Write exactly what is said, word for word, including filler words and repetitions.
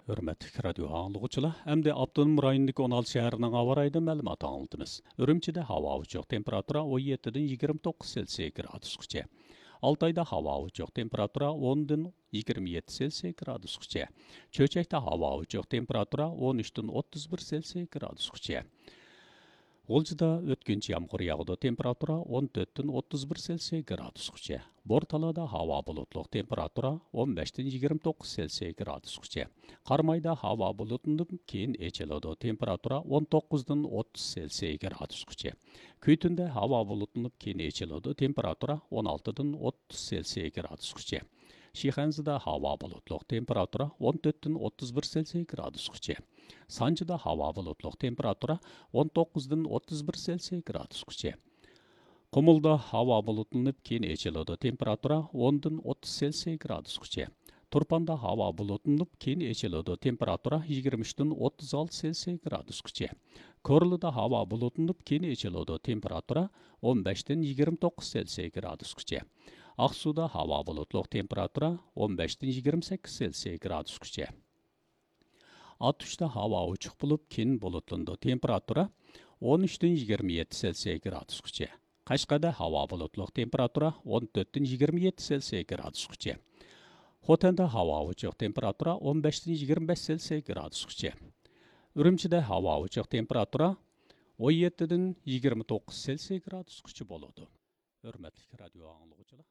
ھۆرمەتلىك رادىيو ئاڭلىغۇچىلار، ئەمدى ئاپتونوم رايوندىكى ئون ئالتە شەھەرنىڭ ھاۋا رايىدا مەلۇمات ئاڭلىتىمىز. ئۈرۈمچىدە ھاۋا ئوچۇق، تېمپېراتۇرا ئون يەتتىدىن يىگىرمە توققۇز سېلسىيە گرادۇسقىچە. ئالتايدا ھاۋا ئوچۇق، تېمپېراتۇرا ئوندىن يىگىرمە يەتتە سېلسىيە گرادۇسقىچە. چۆچەكتە ھاۋا ئوچۇق، تېمپېراتۇرا ئون ئۈچتىن ئوتتۇز بىر سېلسىيە گرادۇسقىچە. غۇلجىدا ئۆتكۈنچى يامغۇر ياغىدۇ، تېمپېراتۇرا ئون تۆتتىن ئوتتۇز بىر سېلسىيە گرادۇسقىچە. بورتالادا ھاۋا بۇلۇتلۇق، تېمپېراتۇرا ئون بەشتىن يىگىرمە توققۇز سېلسىيە گرادۇسقىچە. قارامايدا ھاۋا بۇلۇتلىنىپ، كېيىن ئېچىلىدۇ، تېمپېراتۇرا ئون توققۇزدىن ئوتتۇز سېلسىيە گرادۇسقىچە. كۈيتۈندە ھاۋا بۇلۇتلىنىپ، كېيىن ئېچىلىدۇ، تېمپېراتۇرا ئون ئالتىدىن ئوتتۇز سېلسىيە گرادۇسقىچە. شىخەنزىدە ھاۋا بۇلۇتلۇق، تېمپېراتۇرا ئون تۆتتىن ئوتتۇز بىر سېلسىيە گرادۇسقىچە. سانجىدا ھاۋا بۇلۇتلۇق، تېمپېراتۇرا ئون توققۇزدىن ئوتتۇز بىر سېلسىيە گرادۇسقىچە. قۇمۇلدا ھاۋا بۇلۇتلىنىپ، كېيىن ئېچىلىدۇ، تېمپېراتۇرا ئوندىن ئوتتۇز سېلسىيە گرادۇسقىچە. تۇرپاندا ھاۋا بۇلۇتلىنىپ، كېيىن ئېچىلىدۇ، تېمپېراتۇرا يىگىرمە ئۈچتىن ئوتتۇز ئالتە سېلسىيە گرادۇسقىچە. كورلىدا ھاۋا بۇلۇتلىنىپ، كېيىن ئېچىلىدۇ، تېمپېراتۇرا ئون بەشتىن يىگىرمە توققۇز سېلسىيە گرادۇسقىچە. ئاقسۇدا ھاۋا بۇلۇتلۇق، تېمپېراتۇرا ئون بەشتىن يىگىرمە سەككىز سېلسىيە گرادۇسقىچە. ئاتۇشتا ھاۋا ئوچۇق بولۇپ، كېيىن بۇلۇتلىنىدۇ، تېمپېراتۇرا ئون ئۈچتىن يىگىرمە يەتتە سېلسىيە گرادۇسقىچە. قەشقەردە ھاۋا بۇلۇتلۇق، تېمپېراتۇرا ئون تۆتتىن يىگىرمە يەتتە سېلسىيە گرادۇسقىچە. خوتەندە ھاۋا ئوچۇق، تېمپېراتۇرا ئون بەشتىن يىگىرمە بەش سېلسىيە گرادۇسقىچە. ئۈرۈمچىدە ھاۋا ئوچۇق، تېمپېراتۇرا ئون يەتتىدىن يىگىرمە توققۇز سېلسىيە گرادۇسقىچە بولىدۇ. ھۆرمەتلىك رادىيو ئاڭلىغۇچىلار،